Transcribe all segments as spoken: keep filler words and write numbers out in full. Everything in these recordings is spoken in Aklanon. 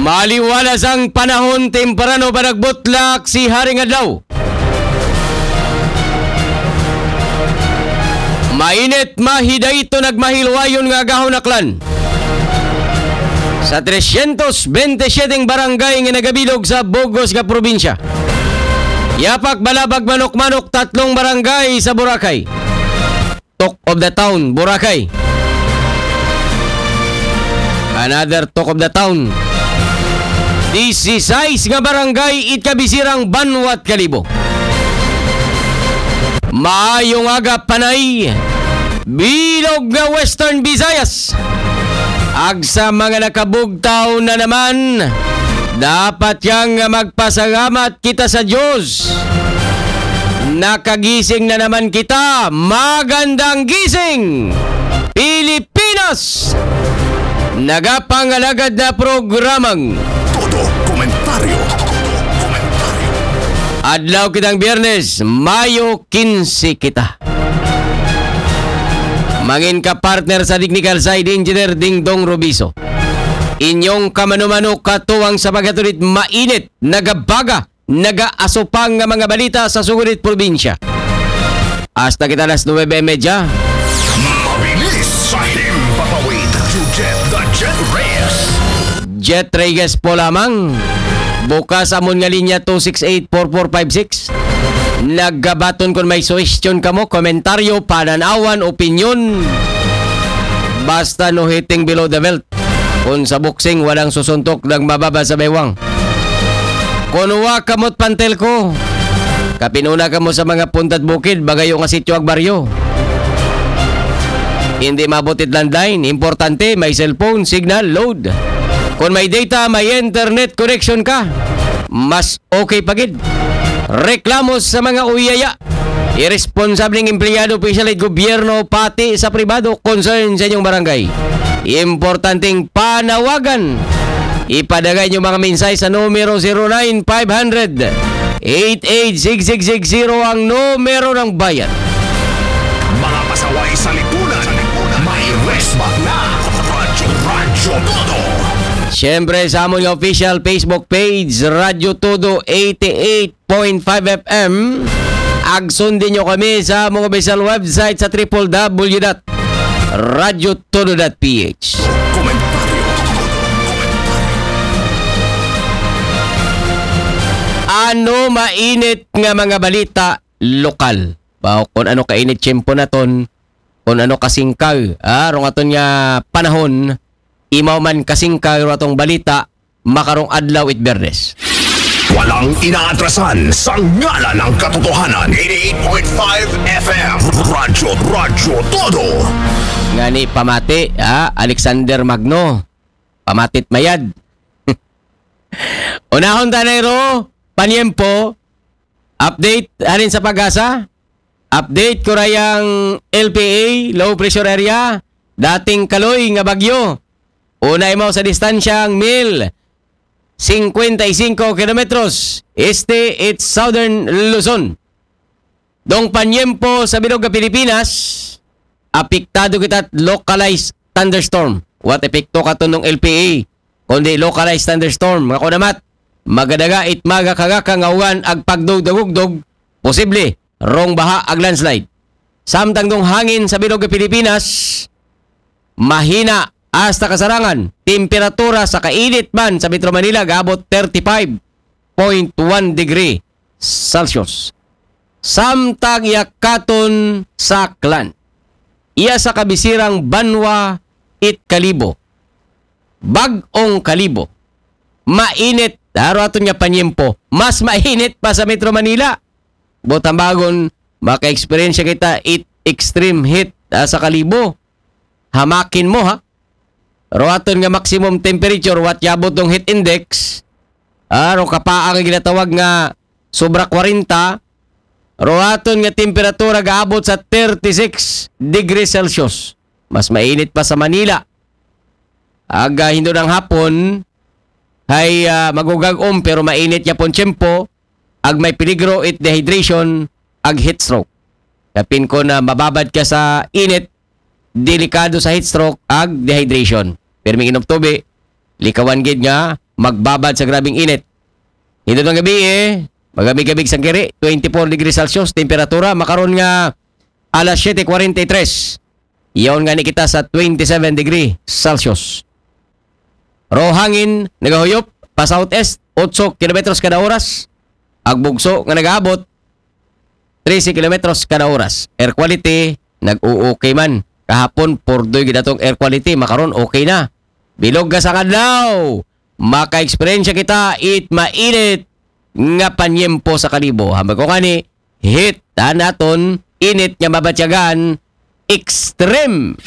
Maliwalas ang panahon, temprano pa nagbutlak si Haring Adlaw. Mainit, mahidayto, nagmahilwayon nga agahon aklan sa tresyentos bente siyete barangay nga nagabilog sa bug-os nga probinsya. Yapak, Balabag, Manok-Manok, tatlong barangay sa Boracay. Talk of the town, Boracay. Another talk of the town. Disisais nga barangay it kabisirang banwat Kalibo. Maayong aga, Panay, bilog nga Western Visayas. Ag sa mga nakabugtaw na naman, dapat yang magpasalamat kita sa Diyos. Nakagising na naman kita. Magandang gising, Pilipinas! Nagapangalagad na programang Todo Komentaryo. Todo Komentaryo. Adlaw kitang Biyernes, Mayo kinse kita. Mangin ka partner sa technical side, Engineer Dingdong Robiso. Inyong kamano-mano katuwang sa paghatod it mainit, nagabaga, nagaasupang nga mga balita sa sugod it probinsya. Hasta kita alas nuwebe y media. Mabilis sa himpapawid. Jet the Jet Reyes. Jet Reyes po lamang. Bukas amon nga linya two six eight four four five six. Nagabaton kon may suhestyon kamo, komentaryo, pananawan, opinyon. Basta no hitting below the belt. Kung sa boxing, walang susuntok ng mababa sa baywang. Kung wa kamot pantel ko, kapinuna kamo sa mga punta't bukid, bagayo nga sityo ag baryo. Hindi maabot it landline, importante, may cellphone, signal, load. Kung may data, may internet connection ka, mas okay pa gid. Reklamo sa mga uyaya. Irresponsableng empleyado, opisyal it gobyerno, pati sa pribado, concern sa inyong barangay. Importanteng panawagan. Ipadagay inyong mga mensahe sa numero zero nine five hundred eight eight six six six zero ang numero ng bayan. Mga pasaway sa lipunan, may resback na. Radyo, Radyo Todo. Siyempre, sa amon nga official Facebook page, Radyo Todo eighty-eight point five F M. Ag sundin nyo kami sa among official website sa triple W dot radyo todo dot P H. Komentaryo. Ano mainit nga mga balita lokal? Ba, kung ano kainit tiyempo naton, kung ano kasingkag, ah, rong aton nga panahon, imaw man kasingkag ro atong balita, makarong adlaw it Biyernes. Walang inaatrasan sa ngalan ng katotohanan. Eighty-eight point five F M. Radyo, Radyo Todo. Ngani pamati, ah, Alexander Magno. Pamatit mayad. Unahon ta na ro, panyempo, update, halin sa PAGASA, update, kurayang L P A, low pressure area, dating kaloy nga bagyo. Una imaw sa distansyang mil singkwenta y singko kilometros, este it Southern Luzon. Dong panyempo sa bilog nga Pilipinas, apektado kita localized thunderstorm. What epekto katon dong L P A, kundi localized thunderstorm. Nga kunamat, magadaga it magakagaka nga uwan ag pagdugdugugdog, posible rong baha ag landslide. Samtang dong hangin sa bilog nga Pilipinas, mahina hasta kasarangan, temperatura sa kainit man sa Metro Manila gaabot thirty-five point one degree Celsius. Samtang iya katon sa Aklan, iya sa kabisirang banwa it Kalibo, Bag-ong Kalibo, mainit, aro aton nga panyempo, mas mainit pa sa Metro Manila. Buot hambagon, maka-experience kita it extreme heat, ah, sa Kalibo. Hamakin mo, ha? Ro aton nga maximum temperature, what yabot dong heat index, ah, ro kapaang nga ginatawag nga sobra kwarenta, ro aton nga temperatura gaabot sa thirty-six degrees Celsius. Mas mainit pa sa Manila. Aga hindo ng hapon, hay, ah, magugag-om pero mainit yapon tiyempo, ag may peligro it dehydration, ag heat stroke. Kapin ko na mababad ka sa init, delikado sa heat stroke ag dehydration. Pirming inom tubi, likawan gid nga magbabad sa grabing init. Ito ng gabi eh, magabig-abig sang kiri, twenty-four degrees Celsius, temperatura, makaron nga alas siyete kwarenta y tres. Iyon nga ni kita sa twenty-seven degree Celsius. Ro hangin, nagahuyop, pa southeast, otso kilometros kada oras. Agbugso nga nagaabot, trese kilometros kada oras. Air quality, nag-o-okay man. Kahapon, purdoy gid atong air quality, makaron okay na. Bilog ka sa kadlaw, maka-eksperyensya kita it mainit nga panyempo sa kalibo. Hambal ko ngani, hit, ta naton, init nga mabatyagan, extreme.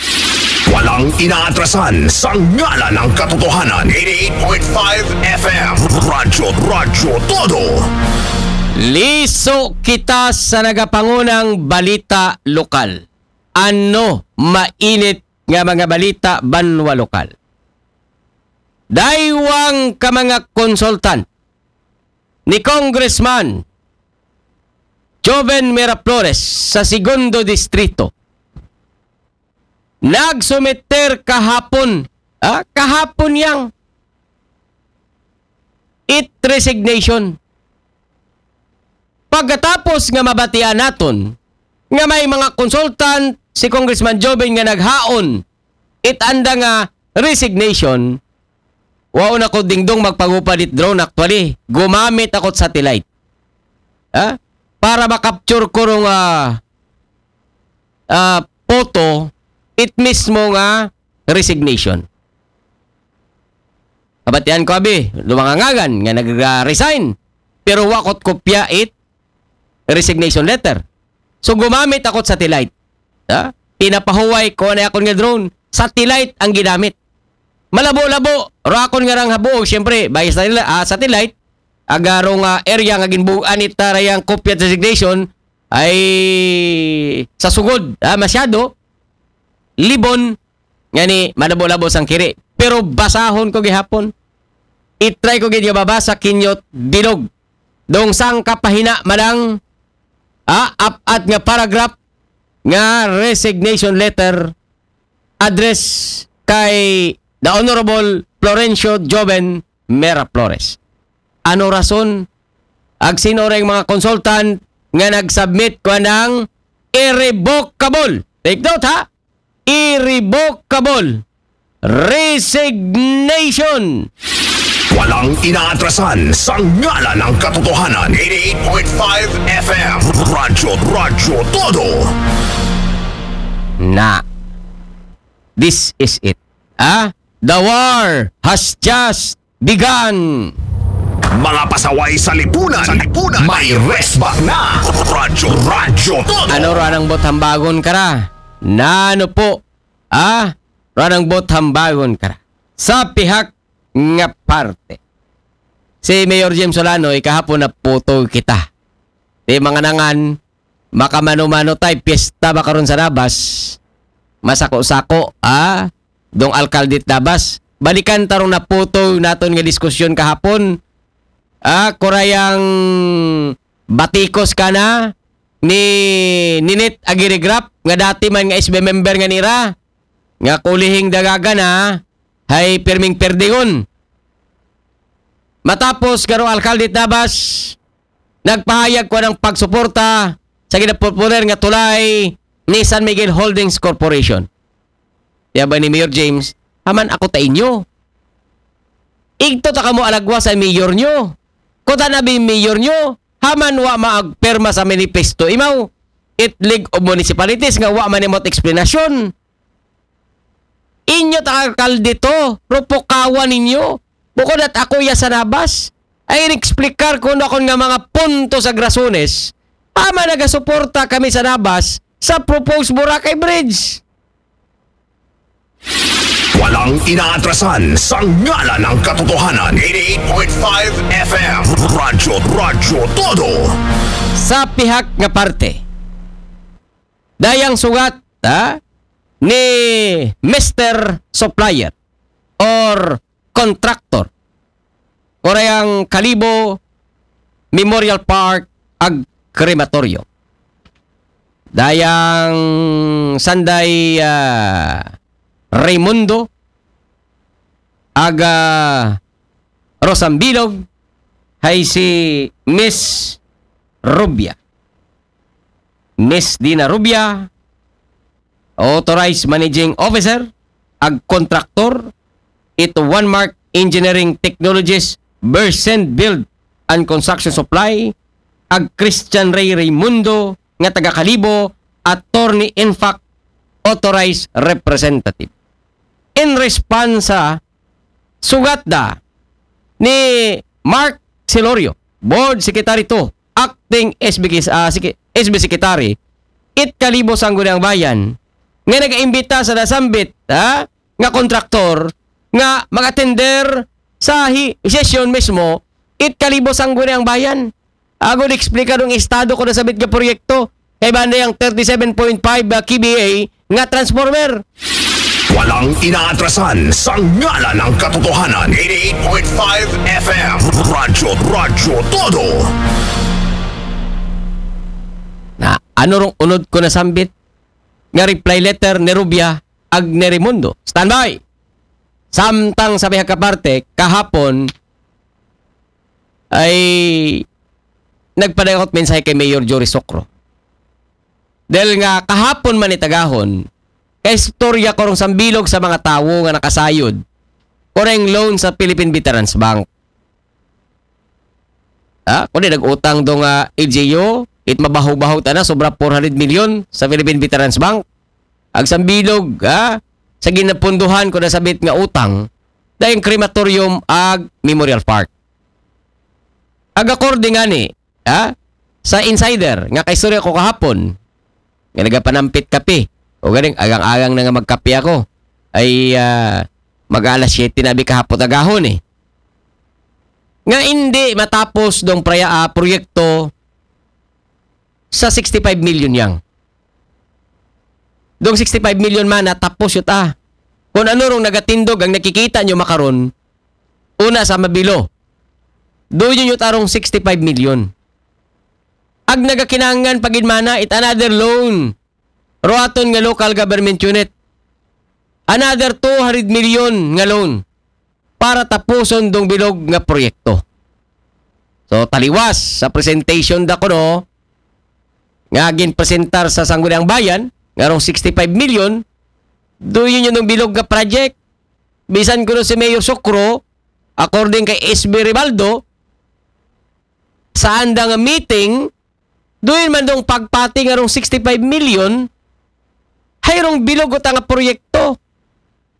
Walang inaatrasan sa ngalan ng katotohanan. eighty-eight point five F M. Radyo, Radyo Todo. Liso kita sa nagapangunang balita lokal. Ano mainit nga mga balita banwa lokal? Daywang ka mga konsultan ni Congressman Joven Miraflores sa Segundo Distrito nagsumiter kahapon, ah, kahapon yang it resignation. Pagkatapos nga mabatian naton nga may mga consultant si Congressman Joven nga naghaon it anda nga resignation, waon ako dingdong magpagupad it drone actually. Gumamit ako satellite. Ha? Para makapture ko rong ah, ah, photo it mismo nga resignation. Kabatian ko abi, dumangangagan nga nag-resign pero wakot kopya it resignation letter. So gumamit ako satellite. Ha? Pinapahuway ko na akon nga drone. Satellite ang ginamit. Malabo-labo, ro akon nga rang habuog, siyempre, by satellite, ah, satellite, agarong ah, area nga ginbuuan it tarayang kopya resignation ay sa sugod, ah, masyado, libon, ngani, malabo-labo sang kiri. Pero basahon ko gihapon. I-try ko gid nga babasa kinyot bilog. Dong sang kapahina manang ah, apat nga paragraph nga resignation letter address kay the Honorable Florencio Joven Mera Flores. Ano rason? Ag sino ring mga consultant nga nag-submit ko ng irrevocable? Take note ha? Irrevocable resignation. Walang inaatrasan sa ngalan ng katotohanan. eighty-eight point five F M. Radyo, Radyo Todo. Na. This is it. Ah? The war has just begun. Mga pasaway sa lipunan. Sa lipunan. May resback na. Radyo, Radyo Todo. Ano ra nang bot hambagon ka ra? Nano po? Ah? Ra nang bot hambagon ka ra? Sa pihak nga parte. Si Mayor James Solano, ikahapon na puto kita. Di mga nangan, makamano-mano tay, piyesta ba karon sa Nabas? Masako-sako, ah? Dong alkalde Nabas. Balikan tarong naputo naton nga diskusyon kahapon. Ah, kurayang batikos ka na ni Ninit Agirigrap nga dati man nga S B member nga nira nga kulihing dagagan ha, hay pirming perdingon. Matapos karo alkalde Nabas, nagpahayag ko ng pagsuporta sa ginapopular nga tulay ni San Miguel Holdings Corporation. Kaya ba ni Mayor James, haman ako ta inyo. Igto ta kamo alagwa sa mayor nyo. Kuta na bi mayor nyo, haman wa maagperma sa manifesto imaw. It League of Municipalities nga wa man imot eksplanasyon. Inyo ta alkalde to, rupukawan ninyo. Bukod at ako ya sa Nabas, ay inexplikar ko na akon nga mga punto sa grasones. Ama nagasuporta kami sa Nabas sa proposed Boracay Bridge. Walang inaatrasan sa ngalan ng katotohanan. eighty-eight point five F M. Radyo, Radyo Todo. Sa pihak nga parte, dayang sugat ha, ni Mister Supplier or Contractor. Orayang Kalibo Memorial Park ag Crematorium. Dayang Sanday ah, Raimundo ag ah, Rosambilog, hay si Miss Rubia. Miss Dina Rubia, Authorized Managing Officer, ag kontraktor, it One Mark Engineering Technologies, Versend Build and Construction Supply, ag Christian Ray Raimundo, nga taga Kalibo, Attorney Infac, Authorized Representative. In response sa sugat da ni Mark Celorio, Board Secretary two, Acting S B, ah, Sec- S B Secretary, it Kalibo Sangguniang Bayan, nga nagaimbita sa nasambit, ha, nga kontraktor nga mag-attender sa hi- session mismo, it Kalibo Sangguniang Bayan. Ago eksplika dong estado ko na sabit nga proyekto. Kay banda yung thirty-seven point five, ah, K V A nga transformer. Walang inaatrasan sa ngalan ng katotohanan. eighty-eight point five F M. Radyo, Radyo Todo. Na ano rong unod ko nasambit nga reply letter ni Rubia ag ni Raimundo. Standby! Samtang sa bihag kaparte, kahapon ay nagpadayakot mensahe kay Mayor Jory Socro. Dahil nga kahapon man itagahon, kay istorya ko rong sambilog sa mga tawo nga nakasayod ko reng loan sa Philippine Veterans Bank. Ha? Kundi nag-utang do nga L G U, it mabahaw-bahaw ta na, sobra four hundred million sa Philippine Veterans Bank. Ag sambilog, ha? Sa ginapunduhan ko na sabit nga utang, dahil crematorium ag Memorial Park. Ag according ani, ha? Sa insider, nga kaistorya ko kahapon, nga nagapanampit kape, o ganing, agang-agang na nga magkape ako, ay ah, mag-alas siyete na bi kahapon agahon eh. Nga hindi matapos dong praya, ah, proyekto sa sixty-five million yang. Dong sixty-five million man natapos yun ah. Kung ano rong nagatindog ang nakikita nyo makaron, una sa mabilo. Do yun yun arong sixty-five million. Ag nagakinangan pagin mana it another loan. Ruaton nga local government unit. Another two hundred million nga loan para tapuson dong bilog nga proyekto. So, taliwas sa presentation da kuno nga ginpresentar sa Sangguniang Bayan, nga rong sixty-five million, do yun yung bilog nga project. Bisan kuno si Mayor Socro, according kay S B Ribaldo, sa anda nga meeting, doon man dong pagpati nga rong sixty-five million, hay rong bilog uta nga proyekto.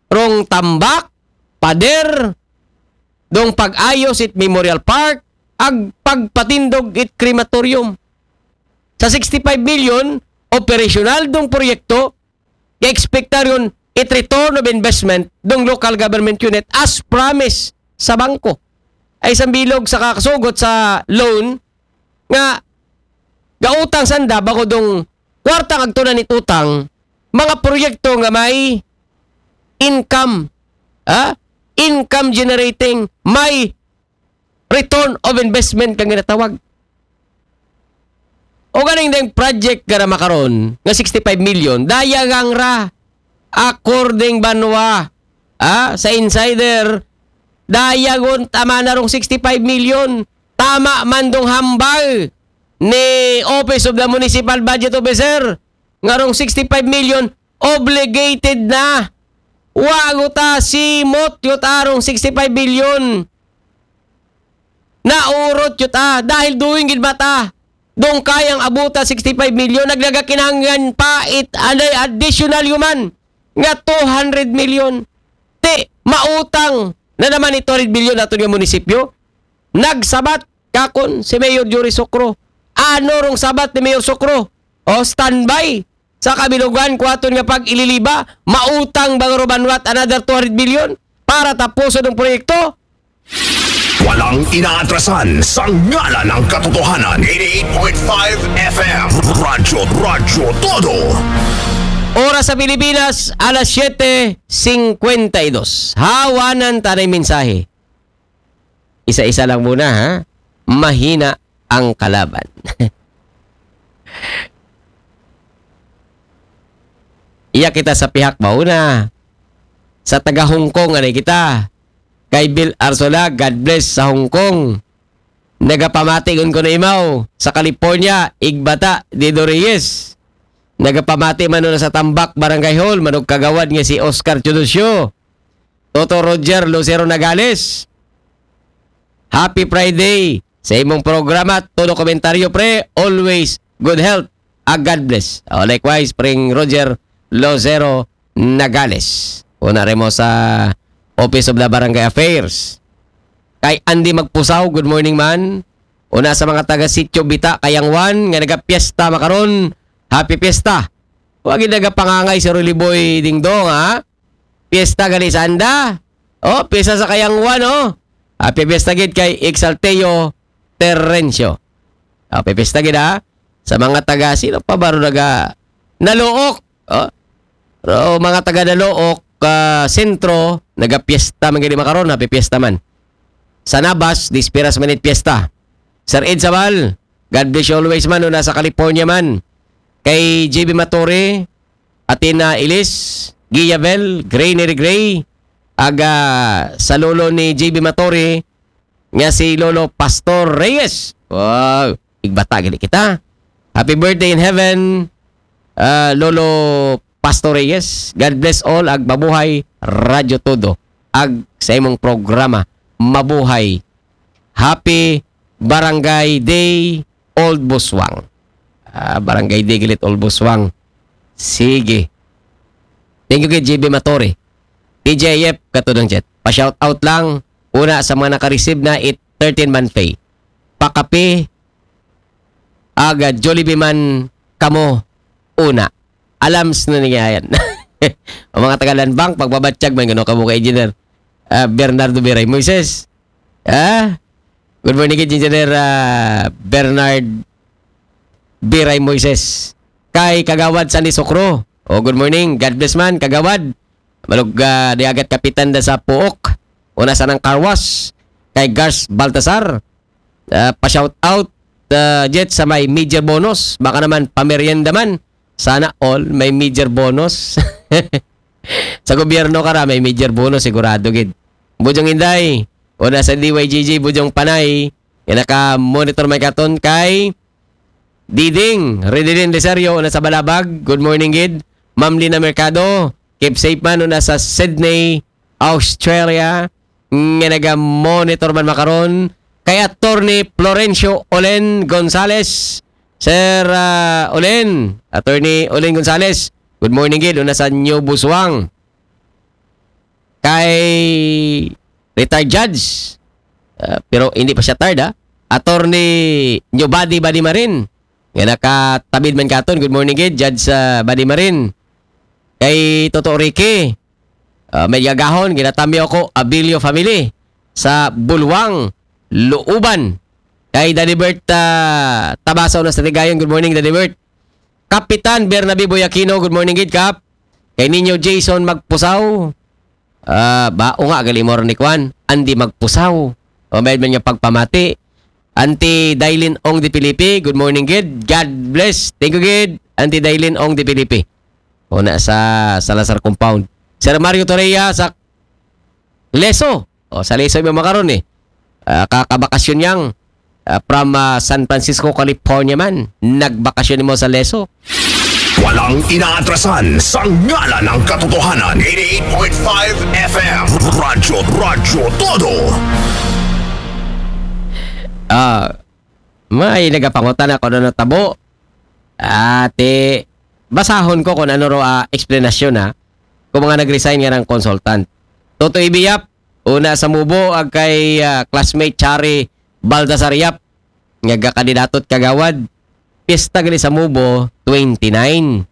Rong tambak, pader, dong pag-ayos it Memorial Park, ag pagpatindog it crematorium. Sa sixty-five million, operasyonal dong proyekto, ga-expectaryon it return of investment dong local government unit as promise sa bangko. Ay sambilog sa kakasugot sa loan nga gautang sanda bako dong kwarta kag tunan it utang, mga proyekto nga may income, ha? Income generating, may return of investment kang ginatawag. O ganing ding project nga na makaron nga sixty-five million, dayagang ra, according banwa, ah, sa insider, dayagon tama na rong sixty-five million, tama man dong hambal ni Office of the Municipal Budget Officer, nga rong sixty-five million, obligated na. Wa guta simot yut arong sixty-five billion. Naurot yut ah, dahil doon gid mata. Dong kayang abuta sixty-five million, nagnagakinangan pa it anay additional human nga two hundred million. Ti, mautang na naman it two hundred billion nato nga munisipyo. Nagsabat kakon si Mayor Jory Socro. Ano rong sabat ni Mayor Socro? O, standby. Sa kabilugan ko aton nga pag-ililiba, mautang ba nga Robanwat another two hundred billion para tapuson ang proyekto? Walang inaatrasan sa ngalan ng katotohanan. eighty-eight point five F M. Radyo, Radyo Todo. Oras sa Pilipinas, alas siyete singkwenta y dos. Hawanan tanay mensahe. Isa-isa lang muna, ha? Mahina ang kalaban. Iya kita sa pihak mauna. Sa taga Hong Kong, anay kita. Kay Bill Arsola, God bless sa Hong Kong. Nagapamati gun ko na imaw sa California, Igbata, Dido Reyes. Nagapamati man na sa Tambak Barangay Hall, manug kagawad nga si Oscar Teodosio. Toto Roger Lucero Nagales. Happy Friday sa imong programa, todo komentaryo, pre, always good health. Ah, God bless. Oh, likewise, Pring Roger Lozero Nagales. Una rin mo sa Office of the Barangay Affairs. Kay Andy Magpusaw, good morning man. Una sa mga taga Sitio Bita, Kayangwan, nga nagapiesta makaron, happy fiesta. Wag nagapangangay si Rolly Boy Dingdong, ha? Fiesta gali sa anda. Oh, fiesta sa Kayangwan, oh. Happy fiesta gid kay Exalteo Terrencio. Happy fiesta gid, ha? Sa mga taga, sino pa ba ro naga, Nalook? Oh. Pero mga taga Nalook, ah, Sentro, nagapiesta man gid makaron, happy fiesta man. Sa Nabas, Dispiras Minute Fiesta. Sir Ed Sabal, God bless you always man, una sa California man. Kay J B Matore, Athena Ilis, Gia Bell, Gray Neri Gray, aga sa lolo ni J B Matore, nga si Lolo Pastor Reyes. Wow, igbata gini kita. Happy birthday in heaven, ah, Lolo Pastor Reyes. God bless all, ag mabuhay Radyo Todo. Ag sa imong programa, mabuhay. Happy Barangay Day, Old Buswang. Ah, Barangay Day galit, Old Buswang. Sige. Thank you kay J B Matore. D J F, katudang chat. Pa-shout out lang. Una sa mga naka-receive na it thirteen month pay. Pakape, aga, Jollibee man kamo una. Alams na niya yan. Ang mga taga Land Bank, pagbabatyag man, gano kamo kay Engineer, ah, Bernardo Biray Moises. Ah? Good morning, Engineer, ah, Bernard Biray Moises. Kay Kagawad Sandy Sokro. Oh, good morning. God bless man, Kagawad. Malug, ah, di agat kapitan da sa Puok. Una sa nang Carwas. Kay Gars Baltasar. Ah, pa-shout out, ah, Jet, sa may major bonus. Baka naman, pamerienda man. Sana all may major bonus. Sa gobyerno ka ra, may major bonus, sigurado gid. Bujong Inday, una sa D Y G G, Bujong Panay, nga naka-monitor may katon kay Diding, Ridilin Desario, una sa Balabag, good morning gid. Ma'am Lina Mercado, keep safe man, una sa Sydney, Australia, nga naga-monitor man makaron. Kay Attorney Florencio Olen Gonzales, Sir, ah, Olen, Attorney Olen Gonzales, good morning gid, una sa New Busuang. Kay retired judge, ah, pero hindi pa siya retired, ah. Attorney Nyo Badi Badi Marin, nga nakatabid man katon. Good morning gid, Judge, ah, Badi Marin. Kay Toto Ricky, ah, may gagahon, ginatamyo ako, Abilio family, sa Bulwang, Luuban. Kay Daddy Bert, ah, Tabasaw na sa Tigayon. Good morning, Daddy Bert. Kapitan Bernabe Boyakino, good morning gid, Kap. Kay Ninyo Jason Magpusaw, ah, ba, o nga, gali mo rin ni Kwan, Andy Magpusaw. O, may man niya pagpamati. Auntie Dailin Ong de Felipe, good morning gid. God bless. Thank you gid, Auntie Dailin Ong de Felipe. O na sa Salazar Compound. Sir Mario Torreya sa Leso. O, sa Leso yung makaron eh. Ah, kakabakasyon yang, ah, from, ah, San Francisco, California man. Nagbakasyon mo sa Leso. Walang inaatrasan sa ngalan ng katotohanan. Eighty-eight point five F M. Radyo, Radyo Todo. Ah, may nagapangutan ako na natabo. Ate, basahon ko kung ano ro, ah, explanation, ha. Kung mga nag-resign nga ng consultant. Toto Ibiyap, una sa Mubo, ag kay, ah, classmate Chari Baltasar Yap, nga kandidato at kagawad. Pista gali sa Mubo, twenty-nine.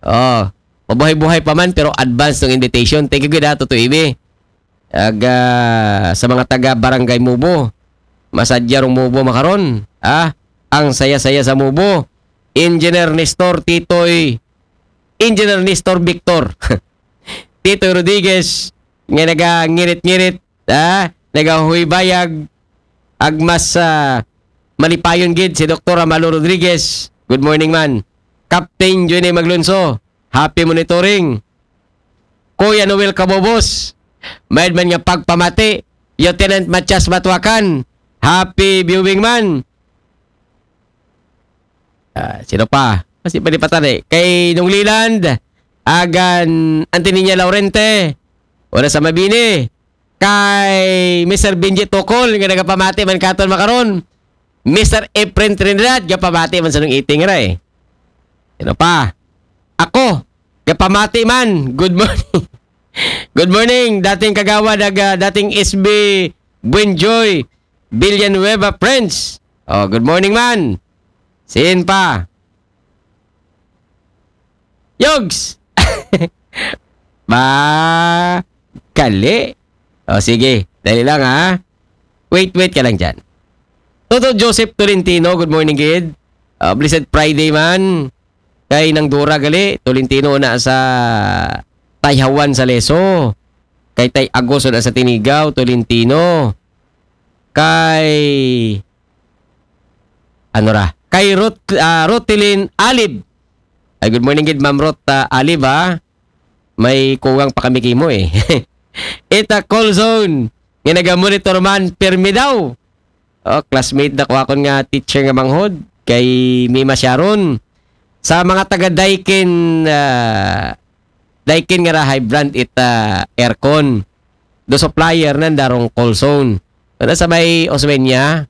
Oh, mabuhay-buhay pa man, pero advance ng invitation. Thank you gid, ha, Toto Ibi. Ag, ah, sa mga taga Barangay Mubo, masadya rong Mubo makaron. Ah, ang saya-saya sa Mubo. Engineer Nestor Titoy, Engineer Nestor Victor. Titoy Rodriguez, nga nagangirit-ngirit, ah, nagahubayag, ag mas, ah, malipayon gid si Doktor Amalo Rodriguez. Good morning man. Captain Johnny Maglunso, happy monitoring. Kuya Noel Cabobos, Mayad man nga pagpamati. Lieutenant Matias Matuakan. Happy viewing man. Ah, sino pa? Kasi pa di pa tani. Kay Nung Leland, agan Anthony Niña Laurente, wala sa Mabini. Kay Mister Benji Tokol, nga nagapamati man katon makaron. Mister Efren Trinidad, gapamati man sa nung iting ra eh. Sino pa? Ako, gapamati man. Good morning. Good morning, dating kagawad, ag, ah, dating S B Buenjoy Villanueva Friends. Oh, good morning man. Sin pa? Yogs! Ba, kali. O, sige. Dali lang, ha? Wait, wait ka lang dyan. Toto Joseph Tolentino, good morning, gid. Ah, blessed Friday man. Kay Nang Dora gali, Tolentino na sa Tayhawan sa Leso. Kay Tay Agos na sa Tinigaw, Tolentino. Kay, ano ra? Kay Rot, ah, Rotilin Alib. Ay, good morning, gid, Ma'am Rot, ah, Alib, ha? May kuwang pa kami kimo, eh. Ita Call Zone. Nga naga-monitor man, pirmi daw. Oh, classmate na ko akon nga teacher nga manghod. Kay Mima Sharon. Sa mga taga Daikin, ah, Daikin nga ra high brand ita aircon. Do supplier nan darong Call Zone. Ano sa may Osmeña?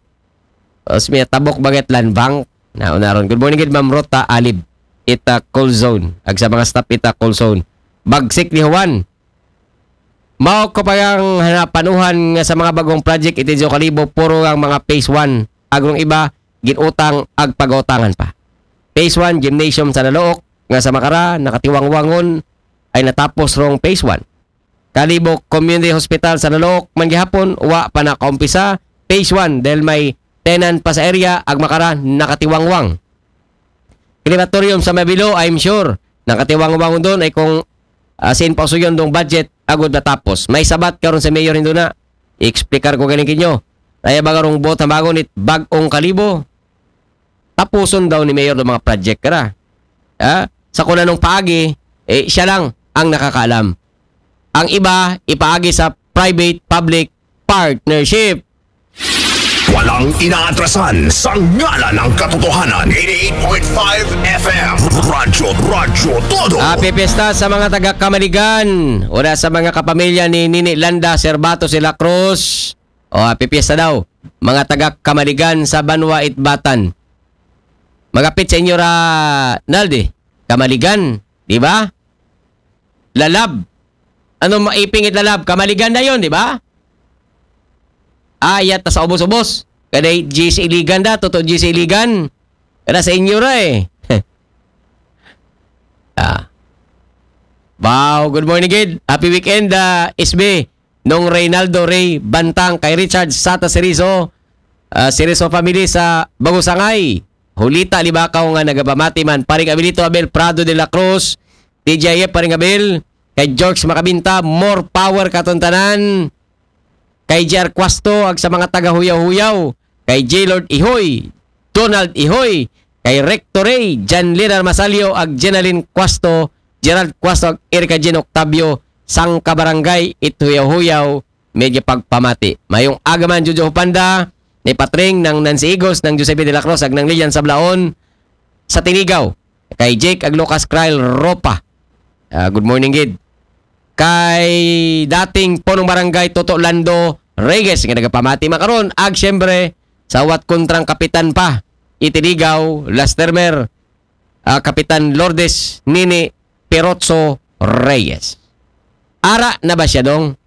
Osmeña, Tabok, Bagat Land Bank. Na, unaron. Good morning, gid, Ma'am Rota Alib. Ita Call Zone. Ag sa mga staff ita Call Zone. Bagsik ni Juan. Mao ko pa ang hanapanuhan nga sa mga bagong project iti Kalibo, puro ang mga phase one. Agrong iba, ginutang ag pagautangan pa. Phase one, gymnasium sa Nalook, nga sa Makara, nakatiwangwangon, ay natapos rong phase one. Kalibo Community Hospital sa Nalook, man gihapon, wa pa nakaumpisa. Phase one, dahil may tenant pa sa area, ag Makara, nakatiwangwang. Crematorium sa Mabilo, I'm sure, nakatiwangwang doon ay kung, ah, sin pausuyon dong budget, agud natapos. May sabat karon sa mayor, hindi na. I-explicar ko galing kinyo. Kaya ba karong buot hamagon it bag-ong Kalibo? Tapuson daw ni mayor ng mga project kara. Ha? Sa kung anong paagi, eh, siya lang ang nakakaalam. Ang iba, ipaagi sa private-public partnership. Walang inaatrasan sa ngalan ng katotohanan. eighty-eight point five F M. Radyo, Radyo Todo. Happy Fiesta sa mga taga Kamaligan. Ora sa mga kapamilya ni Nini Landa Serbato Sila Cruz. O, happy Fiesta daw. Mga taga Kamaligan sa Banwa Itbatan. Magapit sa inyo ra, Naldi. Kamaligan, di ba? Lalab. Ano maiping it Lalab? Kamaligan na yon, di ba? Ayat ta sa ubos-ubos. Kaday G C Iligan da, totoo G C Iligan. Kada sa inyo ra eh. Ah. Wow, good morning, gid. Happy weekend, ah, S B. Nung Reynaldo Ray Bantang, kay Richard Sata Serizo, ah, Serizo family sa Bagusangay. Hulita Libakaw nga nagapamati man. Paring Abilito Abel Prado de la Cruz, T J F, Paring Abel, kay George Makabinta, more power katon tanan. Kay J R Cuasto, ag sa mga taga Huyaw-Huyaw, kay J Lord Ihoy, Donald Ihoy, kay Recto Rey, Jan Lenar Masalio, ag Jenaline Cuasto, Gerald Cuasto, ag Erica Jean Octavio, sangka barangay it Huyaw-Huyaw, medyo pagpamati. Mayong aga man, Jojo Hupanda, ni Patring, ng Nancy Igos, ng Giuseppe de la Cruz, ag ng Lilian Sablaon, sa Tinigaw. Kay Jake ag Lucas Kyle Ropa. Ah, good morning, gid. Kay dating punong barangay Toto Lando Reyes nga nagapamati makaron, ag siyempre sa wat kontrang kapitan pa, i Tinigaw, last termer, ah, Kapitan Lourdes Nini Perotso Reyes. Ara na ba siya, dong?